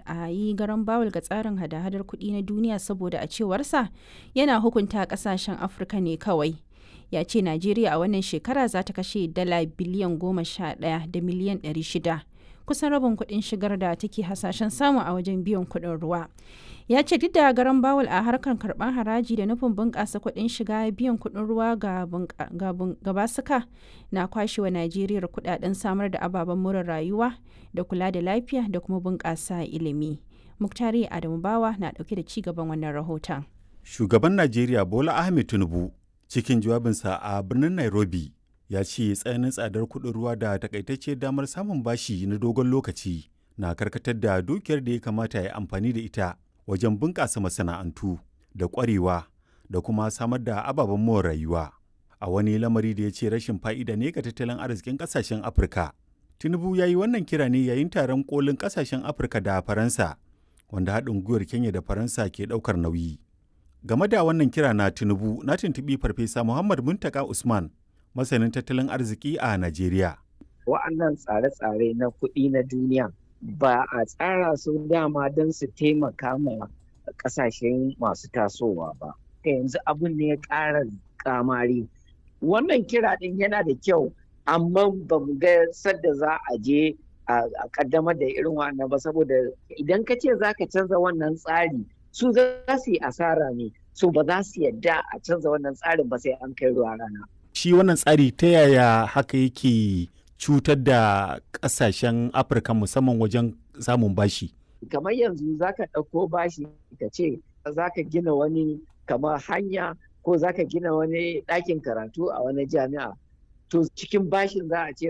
a yi garan bawul ga tsarin hada-hadar kuɗi na duniya saboda a cewarsa yana hukunta ƙasashen Afirka ne kawai. Ya ce Najeriya a wannan shekara za ta kashe dala biliyan 11 da miliyan 600, kusan rabin kuɗin shigar da take hasashen samu a wajen biyan kuɗin ruwa. Ya ce duk da garan bawul a harkar karɓar haraji da nufin bunƙasa kuɗin shiga, biyan kuɗin ruwa ga basuka na kwashewa Najeriya kuɗaɗen samar da ababen more rayuwa da kula da lafiya da kuma bunƙasa ilimi. Muktari Adamu Bawa na ɗauke da ci gaban wannan rahoton. Shugaban Najeriya Bola Ahmed Tinubu, cikin jawabinsa a birnin Nairobi, ya ce tsananin tsadar kuɗin ruwa da takaitacce damar samun bashi na dogon lokaci na karkatar da dukiyar da ya kamata ya amfani da ita wajen bunƙasa masana'antu da ƙwarewa da kuma samar da ababen more rayuwa, a wani lamari da ya ce rashin fa'ida ne ga tattalin arzikin ƙasashen Afirka. Tinubu ya yi wannan kira ne yayin taron kolin ƙasashen Afirka da Faransa, wanda haɗin gwiwar Kenya da Faransa ke ɗaukar nauyi. Game da wannan kira na Tinubu, na tuntuɓi Farfesa Muhammad Muntaka Usman, masanin tattalin arziki a Najeriya. Wa'annan tsare-tsare na kuɗi na duniya ba a tsara su dama don su taimaka ma ƙasashen masu tasowa ba. Yanzu abun ne ya ƙara kamari. Wannan kira ɗin yana da kyau, amma ba mu ga sadda za a je a ƙaddamar da irin wannan ba, saboda idan ka ce za ka canza wannan tsari, su za su yi asara ne, su ba za su yadda a canza wannan tsarin ba sai an kai ruwa rana. Shi wannan tsari, ta yaya haka yake cutar da kasashen Afirka, musamman wajen samun bashi? Kamar yanzu za ka ɗauko bashi ka ce za ka gina wani kamar hanya ko za ka gina wani ɗakin karatu a wani jami'a, to cikin bashin za a ce